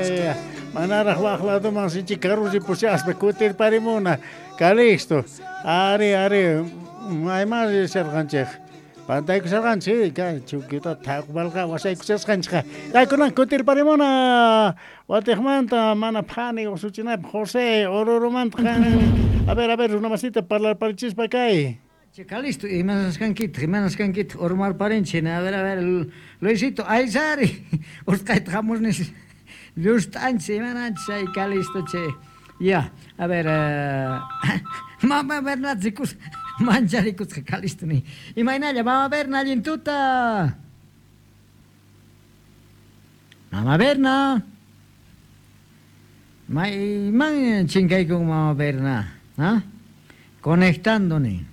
Ya. Manaraj waj ladoman sinchi karu ripushaspa kutirparimuna. Calixto. Ari, ari. Mayman risharqanchej. Pantaykusharqanchej, kay chukita thaqbalqa wasaykushasqanchejqa. Kaykunan kutirparimuna. Watejmanta mana phani usuchinapaj José Orurumanta qan. A ver, runamasita parlarparichispa kay. Che, Calixto, imanasqankitaq, imanasqankitaq urmarparinchik, a ver, Luisito, aysari, usqhayta hamusnis, llust'anchis, imananchis ay Calixto, che. Ya, a ver, mama Bernat rikus, mancharikusqa Calixto ni. Imaynalla, mama Berna, allin tuta. Mama Berna. Mayman chinkaykun mama Berna, ¿ah? Conectando ni.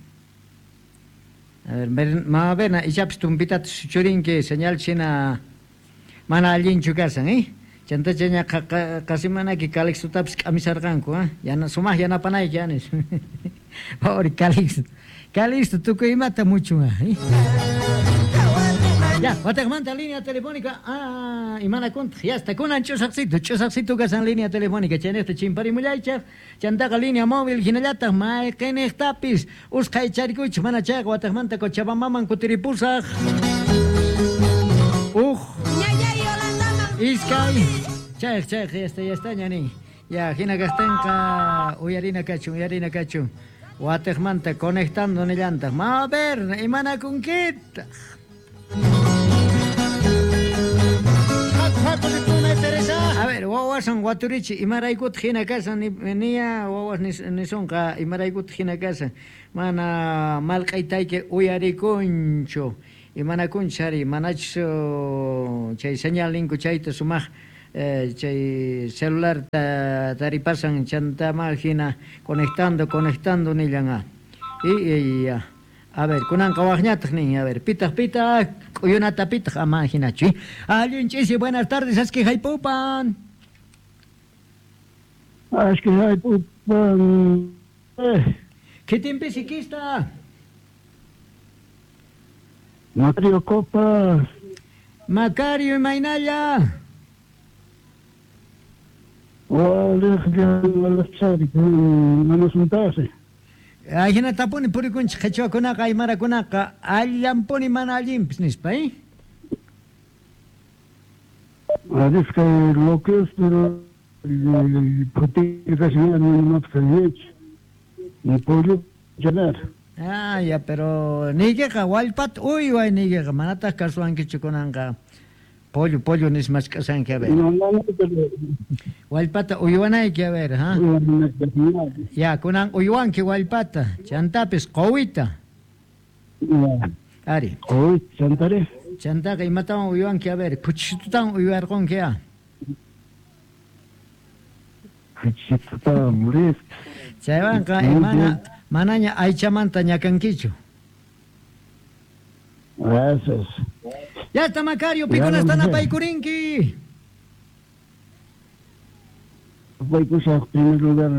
A ver, mama Berna, ichapis tumpitata suchurinki, señal china mana allinchu kasan, ¿eh? Chantachaña qasimanaki Calixtotapis k'amisarqanku, ¿ah? Yana, sumaq yanapanayki, anis. Pobre Calixto. Calixto, tukuy imata muchun, ¿eh? Ya, watejmanta línea telefónica. Ah, imanakuntaq, ya está. Kunan ch'usaqsito, ch'usaqsito kasan línea telefónica. Chaynejta chimparimullaychaq, chantaqa línea móvil hinallataq mayqinejtapis usqhay charikuchik, mana chayqa watejmanta Cochabambaman kutiripusaq. Uj. Iskay. Chayq, chayq, ya está, ya está, ñani. Ya, hina kaqtinqa uyarina kachun, uyarina kachun. Watejmanta conectando nillantaq. Ma ver, imanakunkitaq. A ver, wawasan waturichi, imaraykutaq hina kasan, niya wawas nisonqa, imaraykutaq hina kasan. Mana malq'aytayki uyarikunchu. Imanakunchu ari, manachus chay señal ninku chayta sumaq chay celular taripasan chantama hina conectando, conectando nillan. Y ya. A ver, kunanqa waqñataq nin, a ver, pitaq, pitaq, k'uyunata pitaq, ama hinachu. Allin ch'isi, buenas tardes, aski haypupan. Aski haypupan. Kitinpi sikista. Macario Copa. Macario, imaynalla. Ajinatapuni purikunchik qhichwakunaqa, aymarakunaqa, allanpuni mana allinpis nispa, ¿eh? Arisqa lo que es, pero llenar. Ah, ya, pero niykiqa wallpata uyway niykiqa, manataq kasuwankichu kunanqa. Pollo, pollo nismachk'asanki, a ver. Wallpata uywanayki, a ver, ¿ah? Ya, kunan uywanki wallpata, chantapis quwita. Ari. Quwita, chantari. Chantaqa imatawan uywanki, a ver, khuchitutawan uywarqunki, ah. Khuchitutawan, listo. Chaywanqa imana manaña aychamanta ñakankichu. Gracias. Ya está, Macario, pikunasta napaykurinki. Napaykusaq, primer lugar,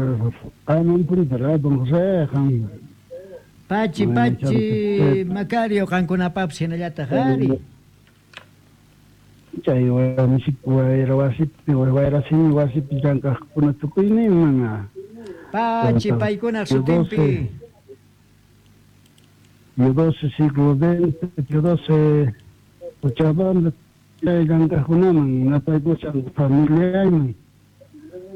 qanmanpuni, ¿verdad, don José? Pachi, pachi, Macario, qankunapapis hinallataq, ari. Chay wasipi, wayrasimi wasipi llank'aqkuna tukuyninman. Pachi, paykunaq sutinpi. Yo 12 siglo XX, yo 12 Cochabamba, llank'aqkunaman, napaykushan familiayman,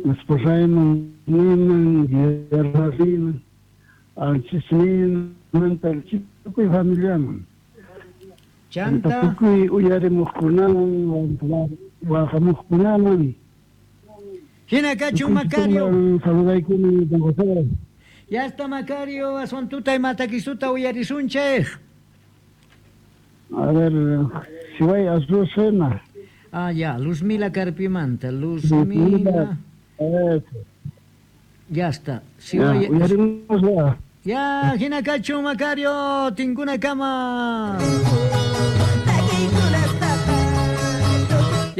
esposayman, niman, guerrariman, alchisniman, tukuy familiaman. Chanta. Tukuy uyarimuqkunaman, waqamuqkunaman. Hina kachun, Macario. Saludaykuni, don José. Ya está, Macario, aswan tuta imatakisuta uyarisunchej. A ver, si voy a Azucena. Ah, ya, Luzmila Carpimanta, Luzmila. Ya está. Si voy... Ya. Ya, hina kachun, Macario, tinkuna kama.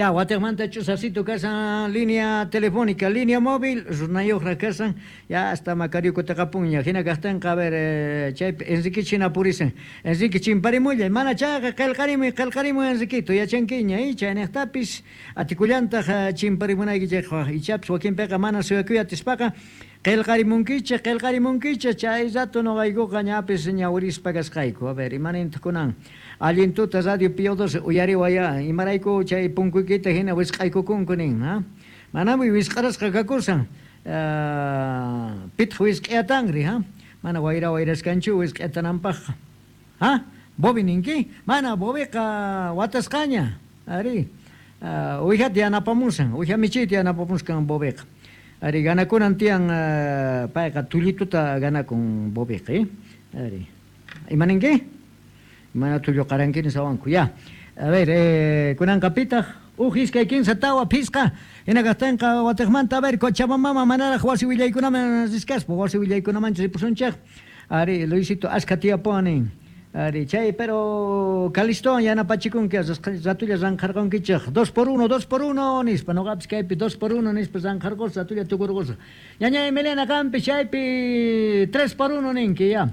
Ya, watejmanta ch'usasito kasan línea telefónica, línea móvil, runayuqra kasan, ya hasta Macario kutaqapunña. Hina kaqtinqa, a ver, chaypi Enrique china purisan. Enrique chimparimullay, mana chayqa qillqarimuy, qillqarimuy Enriquito, yachankiña, chayniqtapis atikullantaq chimparimunaykichikqa, ichapis wakinpiqa mana suyakuy atispaqa qillqarimunkichik, qillqarimunkichik, chay rato noqaykuqa ñapis ñawirispa kasqayku. A ver, imanintaq kunan allin tuta Radio Pío 12 uyariwaya, imarayku chay punkuykita hina wisq'aykukunku nin, ha? Manami wisq'arasqa kakusan, pitaq wisq'ayatanri, ha? Mana wayra wayraskanchu wisq'ayatananpaqqa. Ha? Bobi ninki? Mana Bobiqa watasqaña, ari. Uwijata yanapamusan, uwija michiyta yanapamuskan Bobiqa. Ari, ganakunan tiyan payqa tullituta ganakun Bobiqa, Ari. Imaninki? Mana tullu qarankini sawanku, ya. A ver, kunanqa pitaq uj iskay kinsa tawa phisqa hina kaqtinqa watejmanta, a ver, Cochabamba manaraq wasi willaykunaman riskaspa, wasi willaykunamanchu ripusunchik. Ari, Luisito askha tiyapuwan nin. Ari, chay, pero Calistowan yanapachikunki, ratulla ranqharqunkichik. 2 por 1, 2 por 1 nispa, noqapis kaypi 2 por 1 nispa ranqharqusqa, ratulla tukurqusqa. Ñañay Melena qanpi chaypi 3 por 1 ninki, ya.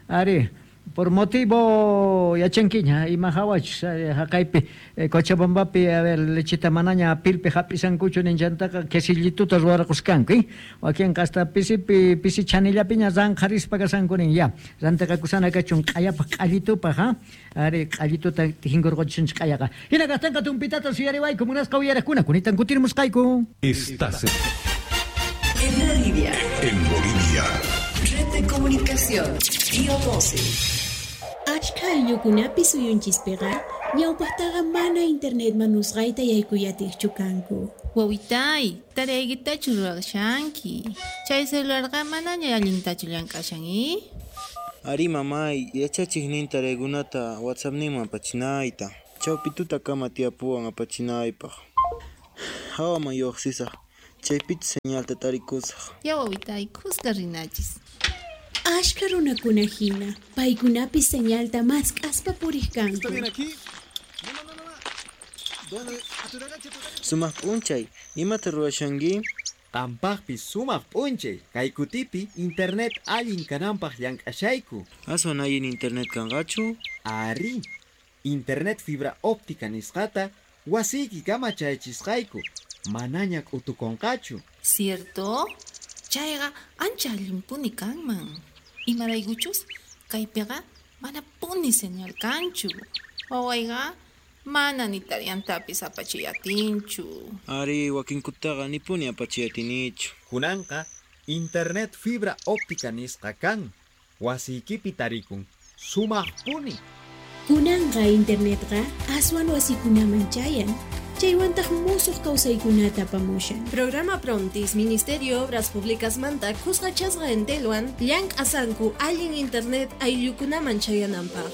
Ari, por motivo yachankiña, ima hawachus, haqaypi, Cochabambapi, a ver, lechita manaña pilpi hap'isankuchu ninchantaqa quesillituta ruwarquskanku, wakinqa hasta pisipi, pisi chanillapiña ranqharispa kasanku nin, ya. Rantiqakusana kachun q'ayapaq q'allitupaq, ha? Ari, q'allituta tijinkurquchisunchik q'ayaqa. Hina kaqtinqa tumpitata suyariwayku, munasqa uyariqkuna, kunitan kutirimusqayku. Estás en Bolivia. En Bolivia. Red de Comunicación, Pío 12. Achka ayllukunapi suyunchispiqa ñawpaqtaqa mana internet manusqayta yaykuyatiqchu kanku. Wawitay, taraykitachu ruwashanki. Chay celularqa manaña allintachu llank'ashan, Ari mamay, yachachiqnin taraykunata WhatsAppninman apachinayta. Chawpi tutakama tiyapuwan apachinaypaq. Hawaman lluqsisaq, chaypichu señalta tarikusaq. Ya wawitay, kuska rinachis. Ashka runakuna hina, paykunapi señalta mask'aspa puriq kanku. ¿Está bien aquí? No, no, no, no. ¿Dónde? Sumaq p'unchay, imata ruwashanki? Qampaqpis sumaq p'unchay, kay kutipi internet allin kananpaq llank'ashayku. Aswan allin internet kanqachu? Ari, internet fibra óptica nisqata wasiyki kama chayachisqayku, manaña k'utukunqachu. Cierto? Chayqa ancha allinpuni kanman. Imaraykuchus kaypiqa manapuni señal kanchu. Wawayqa mana ni tariantapis apachiyatinchu. Ari, wakinkutaqa nipuni apachiyatinichu. Kunanqa internet fibra óptica nisqa kan. Wasiykipi tarikun. Sumaqpuni. Kunanqa internetqa aswan wasikunaman chayan. Chaywantaq musuq kawsaykunata apamushan. Programa Prontis, Ministerio Obras Públicas manta kusqachasqa Entelwan llank'asanku allin internet ayllukunaman chayananpaq.